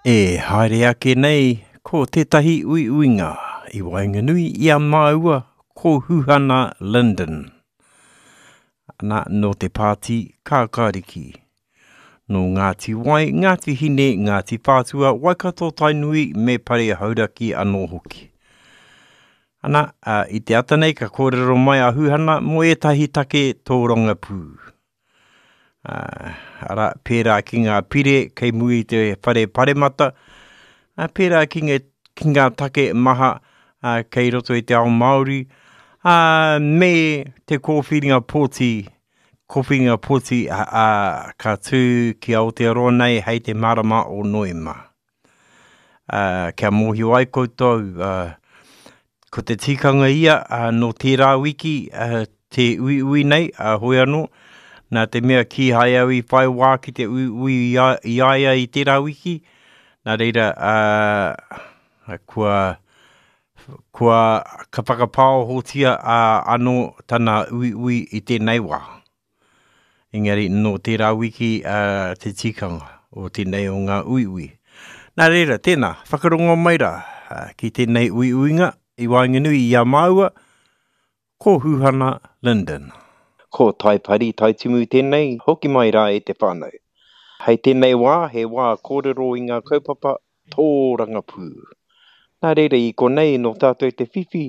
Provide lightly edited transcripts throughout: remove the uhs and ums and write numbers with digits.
E haere ake nei ko tētahi uiuinga i waenganui i a māua ko Huhana Lyndon. Ana, nō te pāti Kākāriki. Nō Ngāti Wai, Ngāti Hine, Ngāti Whātua, Waikato Tainui me Pare Hauraki anō hoki. Ana, i te ata nei ka kōrero mai a Huhana mō ētahi take tōrangapū. Arā, pērā ki ngā pire kei muri i te whare paremata, pērā ki ngā, ki ngā take maha kei roto i te ao Māori, ā, me te kōwhiringa pōti, kōwhiringa pōti ā, ka tū ki Aotearoa nei hei te marama o Noema. Ā, kia mōhio ai koutou, ā, ko te tikanga ia, ā, nō tērā wiki, ā, te uiui nei, ā, hoi anō, nā te mea kīhai au i whai wā ki te uiui i a, i a ia i tērā wiki, nā reira, ā, kua, kua, ka whakapāohotia, ā, anō tana uiui i tēnei wā. Engari nō tērā wiki te tikanga o tēnei o ngā uiui. Nā reira, tēnā, whakarongo mai rā ki tēnei uiuinga i waenganui i a māua ko Huhana Lyndon. Ko Taipari Taitimu tēnei, hoki mai rā e te whānau. Hei tēnei wā, he wā kōrero i ngā kaupapa tōrangapū. Nā reira i konei nō tātou te whiwhi,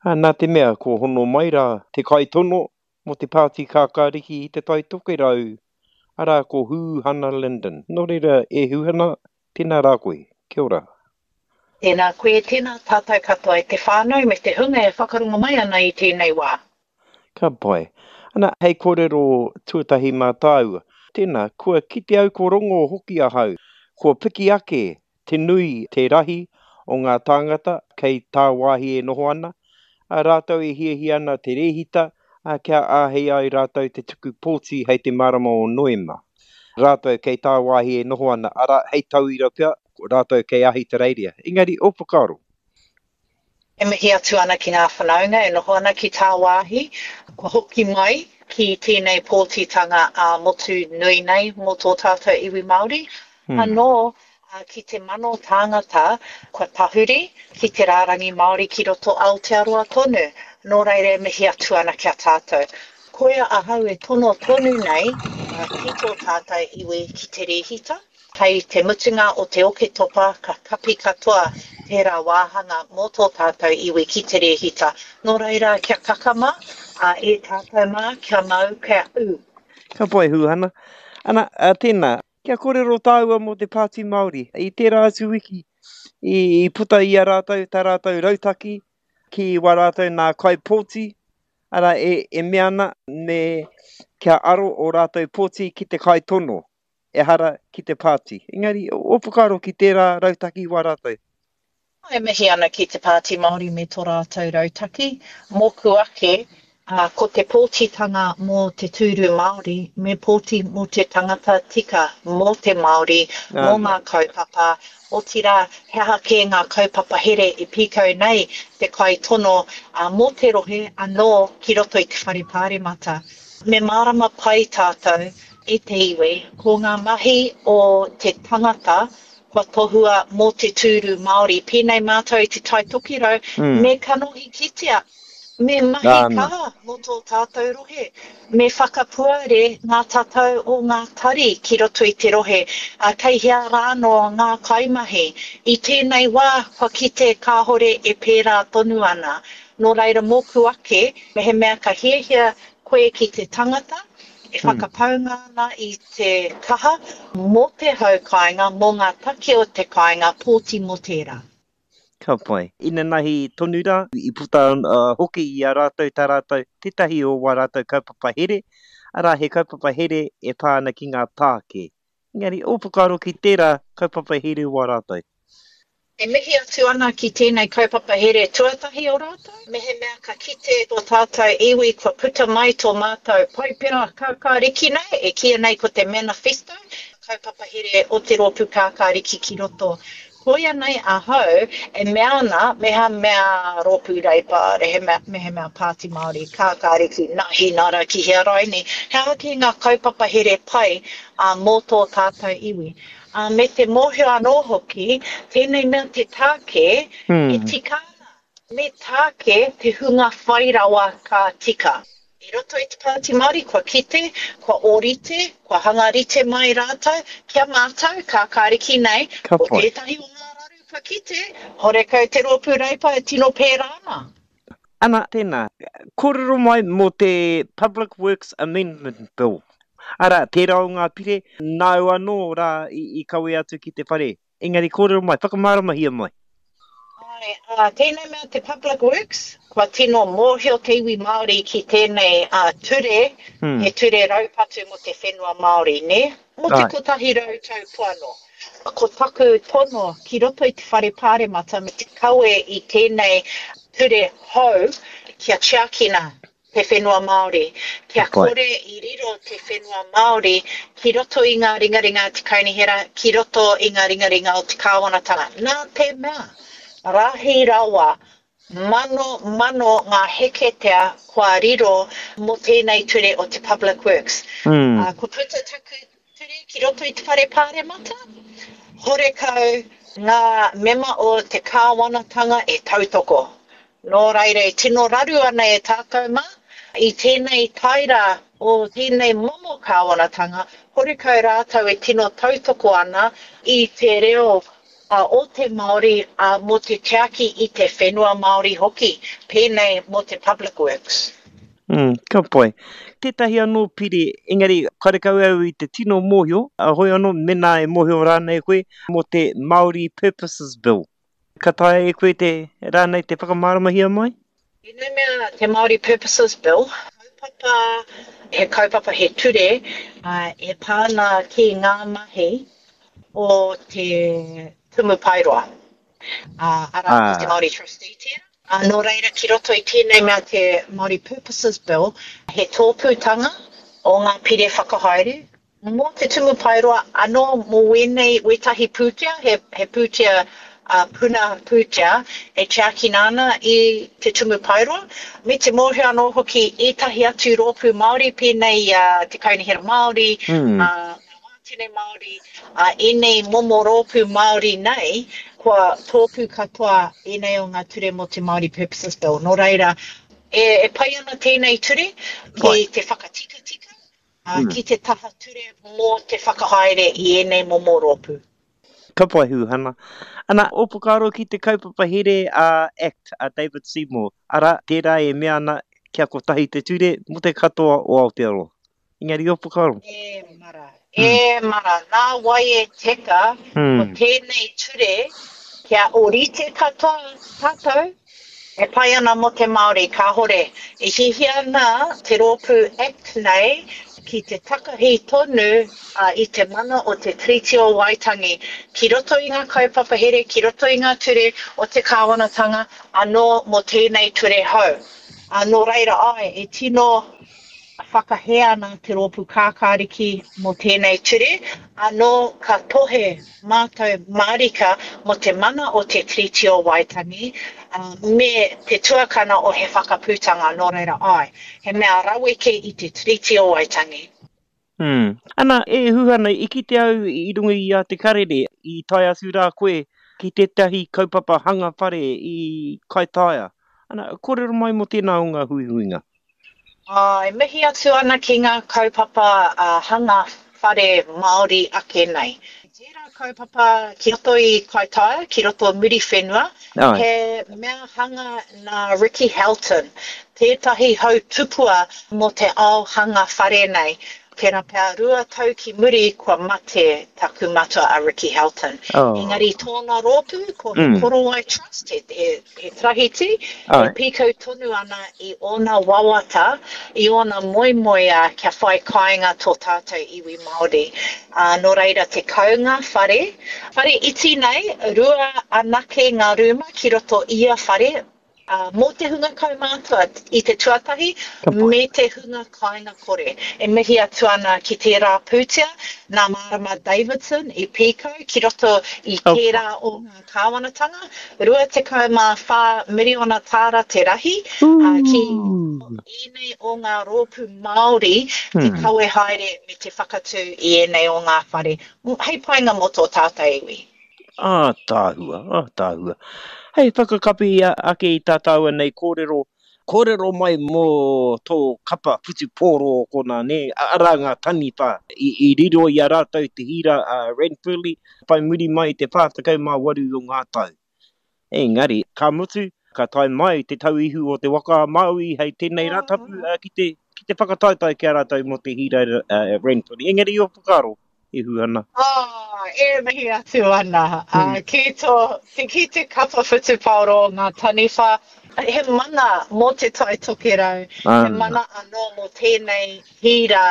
nā te mea kua hono mai rā te kaitono mō te Pāti Kākāriki i Te Tai Tokerau, arā, ko Hūhana Lyndon. Nō reira, e Hūhana, tēnā rā koe. Kia ora. Tēnā koe, tēnā tātou katoa e te whānau me te hunga e whakarongo mai ana i tēnei wā. Ka pai. Ana, hei kōrero tuatahi mā tāua. Tēnā, kua kite au ko rongo hoki ahau, kua piki ake te nui, te rahi o ngā tāngata kei tāwāhi e noho ana, ā, rātou e hiahia ana te rēhita, ā, kia āhei ai rātou te tuku pōti hei te marama o Noema. Rātou kei tāwāhi e noho ana, arā, hei tauira pea, rātou kei Ahitereiria. Engari, ō whakaaro? E mihi atu ana ki ngā whanaunga e noho ana ki tāwāhi, kua hoki mai ki tēnei pōtitanga ā-motu nui nei mō tō tātou iwi Māori. Anō ki te mano tāngata kua tahuri ki te rārangi Māori ki roto Aotearoa tonu. Nō reira e mihi atu ana ki a tātou. Koia ahau e tono tonu nei ki tō tātou iwi ki te rēhita. Hei te mutunga o te Oketopa ka kapi katoa tērā wāhanga mō tō tātou iwi ki te rēhita. Nō reira, kia kakama, ā, e tātou mā, kia mau, kia ū. Ka pai, Huhana. Ana, tēnā, kia kōrero tāua mō te Pāti Māori. I tērā atu wiki, i puta i a rātou tā rātou rautaki ki wā rātou nā kaipōti, arā, e mea ana me kia aro ō rātou pōti ki te kaitono. ehara ki te pāti. Engari, ō whakaaro ki tērā rautaki wā rātou? E mihi ana ki te Pāti Māori me tō rātou rautaki. Mōku ake, ko te pōtitanga mō te tūru Māori, me pōti mō te tangata tika, mō te Māori, mō ngā kaupapa, otirā, he aha kē ngā kaupapa here e pīkau nei te kaitono mō te rohe anō ki roto i te Whare Pāremata. Me mārama pai tātou e te iwi, ko ngā mahi o te tangata kua tohua mō te tūru Māori, pēnei mātou i Te Tai Tokerau, me kanohi kitea, me mahi kaha mō tō tātou rohe, me whakapuare ngā tatau o ngā tari ki roto i te rohe, ā, kei hea rānō ngā kaimahi. I tēnei wā, kua kite kāhore e pērā tonu ana. Nō reira, mōku ake, mehemea ka hiahia koe ki te tangata, e whakapaunga ana i te kaha mō te hau kāinga, mō ngā take o te kāinga, pōti mō tērā. Ka pai. Inanahi tonu rā, i puta hoki i a rātou tā rātou, tētahi o wā rātou kaupapa here, arā, he kaupapa here e pā ana ki ngā tāke. Engari, ō whakaaro ki tērā kaupapa here wā rātou? E mihi atu ana ki tēnei kaupapa here tuatahi o rātou, mehemea ka kite tō tātou iwi kua puta mai tō mātou Paipera Kākāriki nei, e kīia nei ko te Manifesto, kaupapa here o te Rōpū Kākāriki ki roto. Koia nei ahau e mea ana mehemea Rōpū Reipa, mehemea Pāti Māori, Kākāriki, Nāhinara ki hea raini, he aha kē ngā kaupapa here pai mō tō tātou iwi. Me te mōhio anō hoki, tēnei mea te tāke e tika ana, me tāke te hunga whai rawa ka tika. I roto i te Pāti Māori kua kite, kua ōrite, kua hanga rite mai rātou ki a mātou, kākāriki nei, Ka ko pai. tētahi o ngā raru kua kite, horekau te Rōpū Reipa e tino pērā ana. Ana, tēnā, kōrero mai mō te Public Works Amendment Bill. Arā, tērā o ngā pire, nāu anō rā i kawe atu ki te whare. Engari kōrero mai, whakamāramahia mai. Āe, ā, tēnei mea te Public Works, kua tino mōhio te iwi Māori ki tēnei ture, he ture raupatu mō te whenua Māori, nē? Mō te 100 tau poano. Ko taku tono ki roto i te Whare Pāremata me te kawe i tēnei ture hou kia tiakina te whenua Māori, kia kore i riro te whenua Māori ki roto i ngā ringaringa a te Kaunihera, ki roto i ngā ringaringa o te Kāwanatanga. Nā te mea, rahi rawa, mano, mano ngā heketea kua riro mō tēnei ture o te Public Works. Ā, kua puta taku ture ki roto i te Whare Pāremata, horekau ngā mema o te Kāwanatanga e tautoko. Nō reira e tino raru ana e tātou mā, i tēnei taera o tēnei momo kāwanatanga, horekau rātou e tino tautoko ana i te reo o te Māori mō te tiaki i te whenua Māori hoki, pēnei mō te Public Works. Mm, ka pai. Tētahi anō pire, engari karekau au i te tino mōhio, hoi anō mēnā e mōhio rānei koe, mō te Māori Purposes Bill. Ka taea e koe te, rānei te whakamāramahia mai? Tēnei mea te Māori Purposes Bill, kaupapa, he kaupapa, he ture e pā ana ki ngā mahi o te Tumu Paeroa, arā, ko te Māori Trustee tērā. Nō reira, ki roto i tēnei mea te Māori Purposes Bill, he tōpūtanga o ngā pire whakahaere, Mō te Tumu Paeroa anō, mō wēnei wētahi pūtea, he, he pūtea, ā, puna pūtea e tiakina ana i te Tumu Paeroa, me te mōhio anō hoki ētahi atu rōpū Māori pēnei i a Te Kaunihera Māori, ā, ngā Wātene Māori, ā, ēnei momo rōpū Māori nei, kua tōpū katoa ēnei o ngā ture mō te Māori Purposes Bill. Nō reira, e, e pai ana tēnei ture ki te whakatikatika, ki te taha ture mō te whakahaere i ēnei momo rōpū. Ka pai Huhana. Ana, ō whakaaro ki te kaupapa here a act a David Seymour, arā, tērā e mea ana kia kotahi te ture mō te katoa o Aotearoa. Engari ō whakaaro? E mara, e mara, nā wai e teka ko tēnei ture kia ōrite katoa tātou E pai ana mō te Māori, kāhore. E hiahia ana te rōpū act nei ki te takahi tonu i te mana o te Tiriti o Waitangi ki roto i ngā kaupapa here, ki roto i ngā ture o te kāwanatanga anō mō tēnei ture hou. Nō reira, āe, e tino whakahē ana te Rōpū Kākāriki mō tēnei ture, anō ka tohe mātou mārika mō te mana o te Tiriti o Waitangi me te tuakana o He Whakaputanga, nō reira āe, he mea raweke i te Tiriti o Waitangi. Mm. Ana, e Huhana, i kite au i runga i a Te Karere, i tae atu rā koe ki tētahi kaupapa hanga whare i Kaitaia. Ana, kōrero mai mō tēnā o ngā huihuinga. Ā, e mihi atu ana ki ngā kaupapa hanga whare Māori ake nei. Tērā kaupapa ki roto i Kaitaia, ki roto o Muriwhenua, he mea hanga nā Ricky Halton, tētahi hau tupua mō te ao hanga whare nei. Tērā pea 2 tau ki muri kua mate taku matua a Ricky Halton. Engari tōna rōpū ko He Korowai Trust, he, he, he tarahiti, e pīkau tonu ana i ōna wawata, i ōna moemoeā kia whai kāinga tō tātou iwi Māori. Ā, nō reira 10 ngā whare, whare iti nei, rua anake ngā rūma ki roto ia whare, mō te hunga kaumātua i te tuatahi me te hunga kāinga kore. E mihi atu ana ki tērā pūtea nā Marama Davidson i pīkau ki roto i tērā o ngā kāwanatanga, 24 miriona tāra te rahi, ki ēnei o ngā rōpū Māori te kawe haere me te whakatū i ēnei o ngā whare hei painga mō tō tātou iwi. Ātaahua, ātaahua. Hei whakakapi ake i tā tāua nei kōrero, kōrero mai mō tō kapa whutupōro o konā, nē, arā ngā taniwha i riro i a rātou te hīra a Ranfurly whai muri mai i te 48 o ngā tau. Engari, ka mutu, ka tae mai te tauihu o Te Waka a Māui hei tēnei Rātapu ki te, ki te whakataetae ki a rātou mō te hīra Ranfurly. Engari, ō whakaaro? e Huhana. Oh, e mihi atu ana. Uh, ki, tō, ki te kapa whutupaoro o ngā taniwha, he mana mō te Tai Tokerau, he mana anō mō tēnei hīra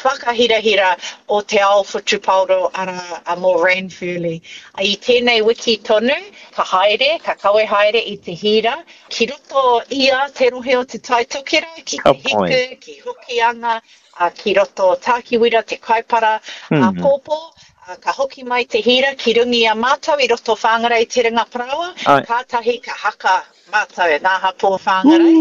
whakahirahira o te ao whutupaoro arā mō Ranfurly. I tēnei wiki tonu, ka haere, ka kawe haere i te hīra ki roto i a te rohe o te Tai Tokerau, ki Te Hiku, ki Hokianga, ā, ki roto o Tākiwira, Te Kaipara, āpōpō, ā, ka hoki mai te hīra ki runga i a mātou i roto Whāngarei Te Ringa Parāoa, kātahi ka haka mātou, ngā hapū o Whāngarei,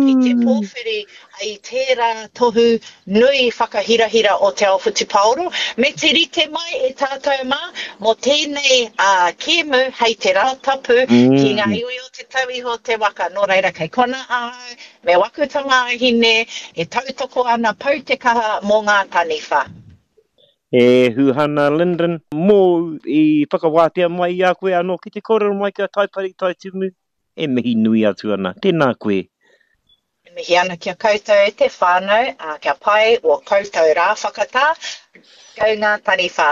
ki te pōwhiri i tērā tohu nui whakahirahira o te ao whutupaoro, me te rite mai e tātou mā, mō tēnei kēmu hei te Rātapu ki ngā iwi o Te Tauihu o te Waka, nō reira kei konā ahau, Me waku tamāhine e tautoko ana pau te kaha mō ngā taniwha. E Huhana Lyndon, mōu i whakawātea mai i a koe anō ki te kōrero mai ki a Taipari Taitumu, e mihi nui atu ana. Tēnā koe. E mihi ana ki a koutou e te whānau, ā, kia pai ō koutou rā whakatā. Go ngā taniwha.